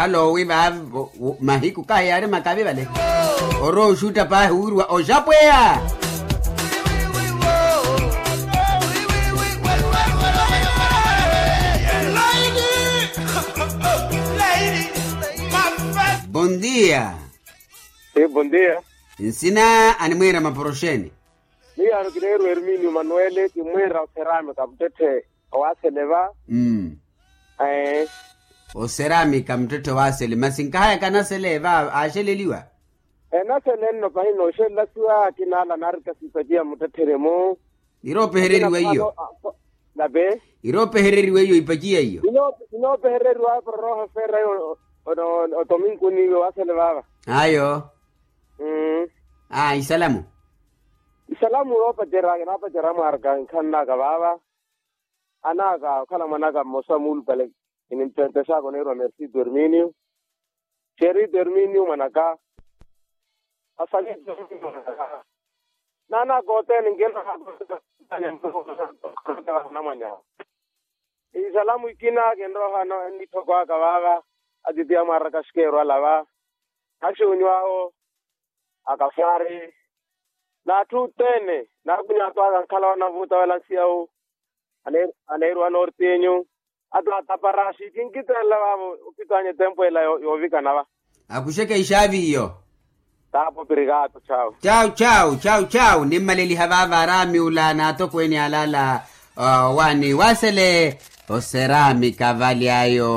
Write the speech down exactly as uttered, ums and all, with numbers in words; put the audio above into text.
Alowi vaavi mahiku kahi yaari makavi vale. Orowa oxutta paahi wiiriwa oxapweya. Bondia. Bondia. Nsina animwiira maporoxeni. Miyaano kineerwa ermini manuele kimwiira oseramika muttetthe. Owaasele va. Mm. Ee. Oseramika muttetthe owaasele masi nkahayaka anasele va aaxeleliwa. Enasele nno pahi nooxelelasiwa akina ala naarikasipaciya muttettheremu. Iroopehereriwa iyo. Nape. Iroopehereriwa iyo ipaciya iyo. Inoopehereriwa pororoha feera iyo. Otominkuni iwe waasele vaava. Ayo. Aa isalamu. Isalamu yoopacerya kinaapacerya mwaaraka nkhananaka vaava. Anaka okhala mwanaka mmosa muulupale. Inimpempesaka oneerwa mercido herminio. Cherido herminio mwanaka. Asalito herminio mwanaka. Naanaka othene nkina namwanya. Isalamu ikina kinroha nitthoko aka vaava. Atitiya mwaaraka axikeerwa ala va. Axuunyu awo. Akafaari. N'atthu othene naakuny'ato aka nkhala wanavuuta wala nsiyawu. Aneeriwa nortinyu. Ato ataparaxi kinkitelela vaavo. Ophitwanya etempo ela yoovikana va. Akuxeke ixaavi iyo. Taapo pirikaato chawu. Chawu chawu chawu chawu nimmaleliha vaava araami ula n'atokweeni alaala. Owaani waasele. Oseraami kavali ayo.